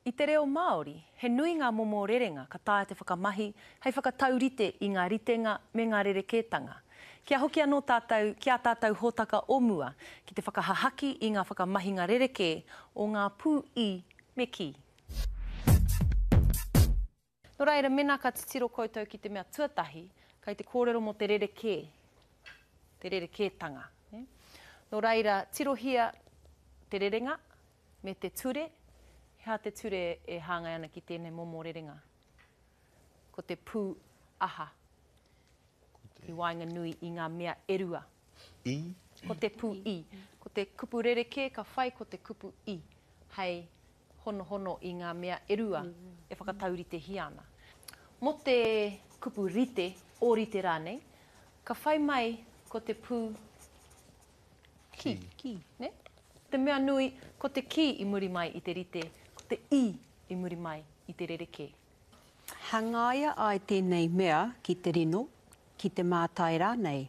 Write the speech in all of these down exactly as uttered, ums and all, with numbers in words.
I te reo Māori, he nui ngā momo rerenga ka taea te whakamahi hei whakataurite i ngā ritenga me ngā rerekētanga. Kia hoki anō tātou ki ā tātou hōtaka o mua ki te whakahahaki i ngā whakamahinga rerekē o ngā pū i me kī. Nō reira, mēnā ka titiro koutou ki te mea tuatahi, kei te kōrero mō te rerekē, te rerekētanga. Nō reira, tirohia te rerenga me te ture. He aha te ture e hāngai ana ki tēnei momo rerenga? Ko te pū aha i waenganui i ngā mea e rua. I? Ko te pū i. Ko te kupu rerekē ka whai ko te kupu i hei honohono i ngā mea e rua e whakatauritehia ana. Mō te kupu rite, ōrite rānei, ka whai mai ko te pū ki. Ki. Ne? Te mea nui, ko te ki i muri mai i te rite, ko te i i muri mai i te rerekē. Hangaia ai tēnei mea ki te rino, ki te mātai rānei.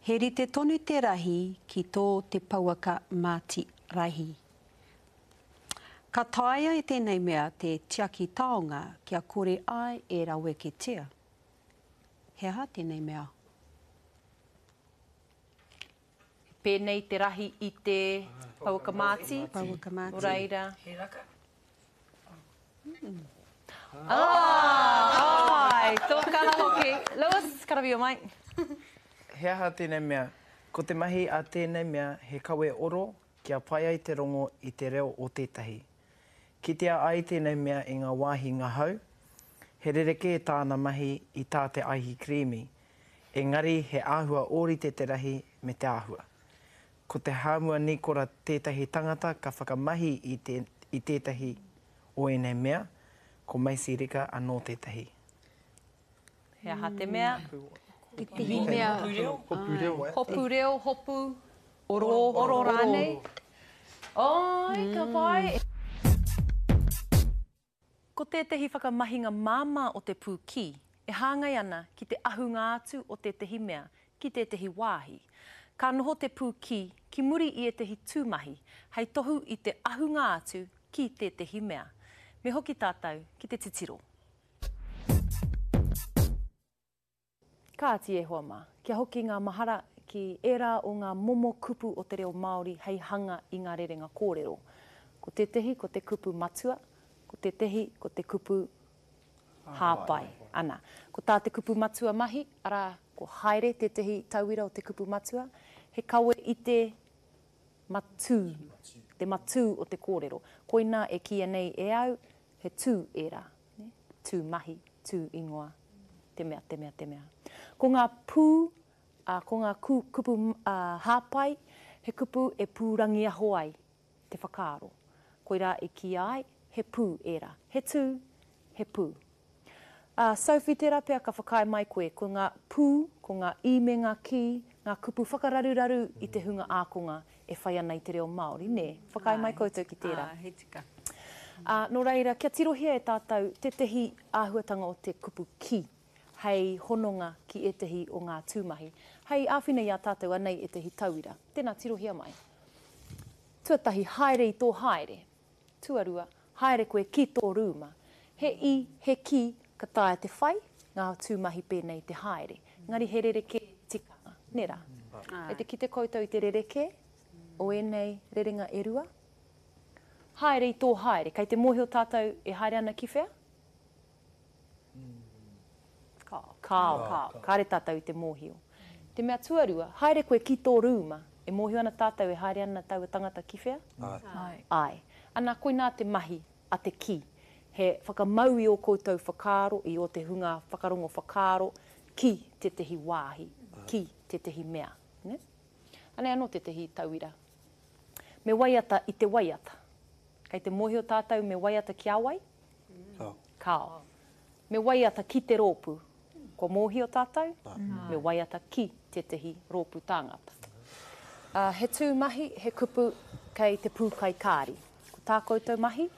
He rite tonu te rahi ki tō te pouaka māti rahi. Ka taea e tēnei mea te tiaki taonga kia kore ai e raweketia. He aha tēnei mea? He pēnei te rahi i te pouaka māti. Pouaka māti. Nō reira. He raka. Ah, ai, tō kaha hoki. Lewis, karawhio mai. He aha tēnei mea? Ko te mahi a tēnei mea he kawe oro kia pai ai te rongo i te reo o tētahi. Kitea ai tēnei mea i ngā wāhi ngahau, he rerekē tāna mahi i tā te aihikrīmi, engari he āhua ōrite te rahi me te āhua. Ko te Hāmua Nīkora tētahi tangata ka whakamahi i, te, i tētahi o ēnei mea, ko Macy Rika anō tētahi. He aha te mea? Tētahi mea. Hopu reo. Hopu reo, eh? Hopu reo, hopu. Oro. Oro rānei. Oi, ka pai. Ko tētahi whakamahinga māmā o te pū ki e hāngai ana ki te ahunga atu o tētahi mea ki tētahi wāhi. Ka noho te pū ki ki muri i ētahi tūmahi hei tohu i te ahunga atu ki tētahi mea. Me hoki tātou ki te titiro. Kāti e hoa mā, kia hoki ngā mahara ki ērā o ngā momo kupu o te reo Māori hei hanga i ngā rerenga kōrero. Ko tētahi ko te kupu matua, ko tētahi ko te kupu hāpai. Ana, ko tā te kupu matua mahi, arā, ko haere tētahi tauira o te kupu matua, he kawe i te matū, te matū o te kōrero. Koinā e kīia nei e au, he tū ērā, ne? Tū mahi, tū ingoa, te mea, te mea, te mea. Ko ngā pū, ā, ko ngā ku, kupu ā, hāpai, he kupu e pūrangiaho ai te whakaaro. Koirā e kīia ai, he pū ērā. He tū, he pū. Ā, Sophie, tērā pea ka whakaae mai koe, ko ngā pū, ko ngā i me ngā kī, ngā kupu whakararuraru i te hunga ākonga e whai ana i te reo Māori, nē? Whakaae mai koutou ki tērā. Ā, he tika. Ā, nō reira, kia tirohia e tātou tētahi āhuatanga o te kupu ki, hei hononga ki ētahi o ngā tūmahi. Hei āwhina i a tātou anei ētahi tauira. Tēnā, tirohia mai. Tuatahi, haere i tō haere. Tuarua, haere koe ki tō rūma. He i, he ki, ka taea te whai, ngā tūmahi pēnei te haere. Engari he rerekē tikanga, nē rā? Kei te kite koutou i te rerekē o ēnei rerenga e rua? Haere i tō haere. Kei te mōhio tātou e haere ana ki whea? Kāo. Kāo. Kāo. Kāre tātou i te mōhio. Te mea tuarua, haere koe ki tō rūma. E mōhio ana tātou e haere ana taua tangata ki whea? Āe. Āe. Ana, koinā te mahi a te ki. He whakamau i ō koutou whakaaro, i ō te hunga whakarongo whakaaro ki tētahi wāhi, ki tētahi mea. Ne? Anei anō tētahi tauira. Me waiata i te waiata. Kei te mōhio tātou me waiata ki a wai? Kāo. Kāo. Me waiata ki te rōpū. Kua mōhio tātou? Me waiata ki tētahi rōpū tāngata. Uh, he tū mahi, he kupu kei te pūkai kāri. Ko tā koutou mahi,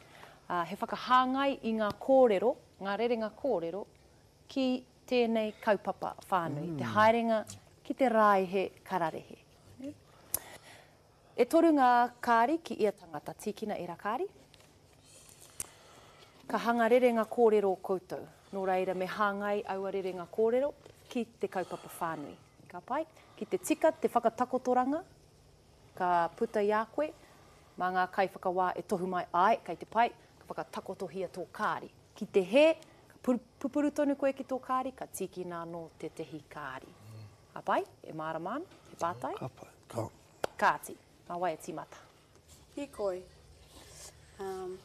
uh, he whakahāngai i ngā kōrero, ngā rerenga kōrero, ki tēnei kaupapa whānui, mm. te haerenga ki te rāihe kararehe. E toru ngā kāri ki ia tangata, tīkina ērā kāri. Ka hanga rerenga kōrero koutou. Nō reira, me hāngai aua rerenga kōrero ki te kaupapa whānui. Ka pai? Ki te tika te whakatakotoranga, ka puta i a koe, mā ngā kaiwhakawā e tohu mai, āe, kei te pai, ka whakatakotohia tō kāri. Ki te hē, ka pupuru tonu koe ki tō kāri, ka tīkina anō tētehi kāri. Ka pai? E mārama ana? He pātai? Ka pai. Ka. Kāti. Mā wai e tīmata? Hīkoi. Um,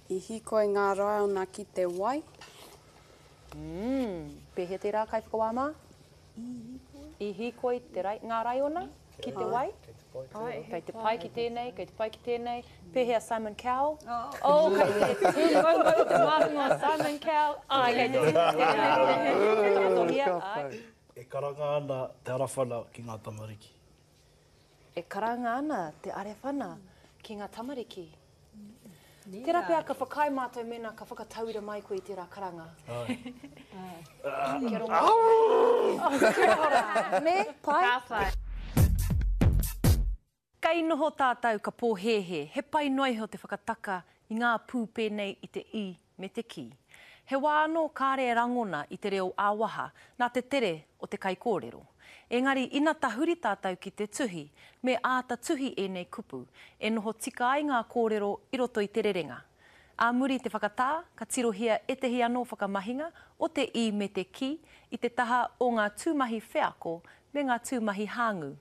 I hīkoi ngā raiona ki te wai. Mm, pēhea tērā kaiwhakawā mā? I hīkoi. I hīkoi te rai, ngā raiona ki te wai? Kei te pai tērā. Kei te pai ki tēnei, kei te pai ki tēnei. Pēhea Simon Cowell? Oh, oh kei te tūmaumau te māhunga o Simon Cowell. Ai, kei te tika tēnei. Takotohia, ai. E karanga ana te arawhana ki ngā tamariki. E karanga ana te arewhana ki ngā tamariki. Tērā pea ka whakaae mātou mēnā ka whakatauira mai koe i tērā karanga. Ai. Kia rongo. Oh, kia ora. Nē, pai? Ka pai. Kei noho tātou ka pōhēhē, he pai noa iho te whakataka i ngā pū pēnei i te i me te ki. He wā anō kāre e rangona i te reo ā-waha nā te tere o te kaikōrero. Engari ina tahuri tātou ki te tuhi, me āta tuhi ēnei kupu, e noho tika ai ngā kōrero i roto i te rerenga. Ā muri i te whakatā, ka tirohia ētehi anō whakamahinga o te i me te ki i te taha o ngā tūmahi wheako me ngā tūmahi hāngū.